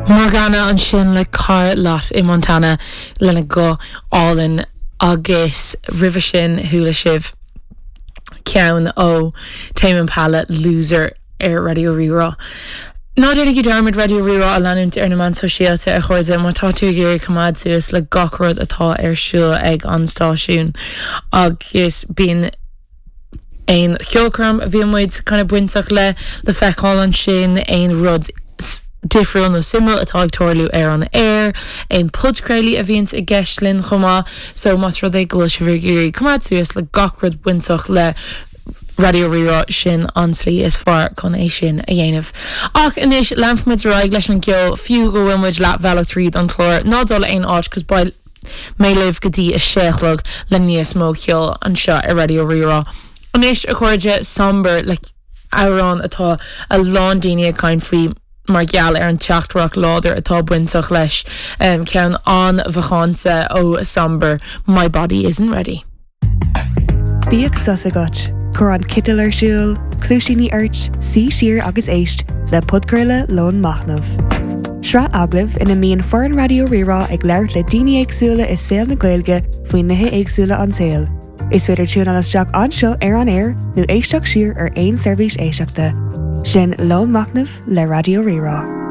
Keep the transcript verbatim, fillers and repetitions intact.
Morgana ansin le Car Lot i Montana lena guth álainn agus roimhe sin chuala sibh ceann ó Tame Impala Loser ar Raidió Rí-Rá. Ná déanaigí dearmad Raidió Rí-Rá a leanúint ar na meáin sóisialta a chairde má tá tú ag iarraidh coimeád suas le gach rud atá ar siúl ag an stáisiún agus bíonn aon cheolchoirm a bhí muid kind of bainteach le le feiceáil ansin aon rud difriúil nó suimiúil atá ag tarlú ar an air, aon podchraoltaí a bhíonns i gceist linn chomh maith, so más rud é go bhfuil sibh ag iarraidh coimeád suas le gach rud bainteach le Raidió Rí-Rá sin an tslí is fearr chun é sin a dhéanamh. Ach anois leanfaimid ar aghaidh leis an gceol fiú go bhfuil muid leathbhealach tríd an chlár ná dul aon áit cos beidh mé libh go dtí a sé a chlog le níos mó ceol anseo ar Raidió Rí-Rá. Anois a chairde Somber le amhrán atá a lán daoine ag caint faoi mar gheall ar an teachtaireacht láidir atá bainteach leis um, ceann an-mhacánta ó Somber My Body Isn't Ready. Bíodh sos agat, Cuir an citeal ar siúl, cluaisíní ort, suigh siar agus éist le podchraoladh Lón Machnaimh. Sraith agallamh ina mbíonn foireann Raidió Rí-Rá ag labhairt le daoine éagsúla i saol na Gaeilge faoi nithe éagsúla an tsaoil. Is féidir tiúnáil isteach anseo ar an air nó éisteacht siar ar aon seirbhís éisteachta. Sin Lón Machnaimh le Raidió Rí-Rá.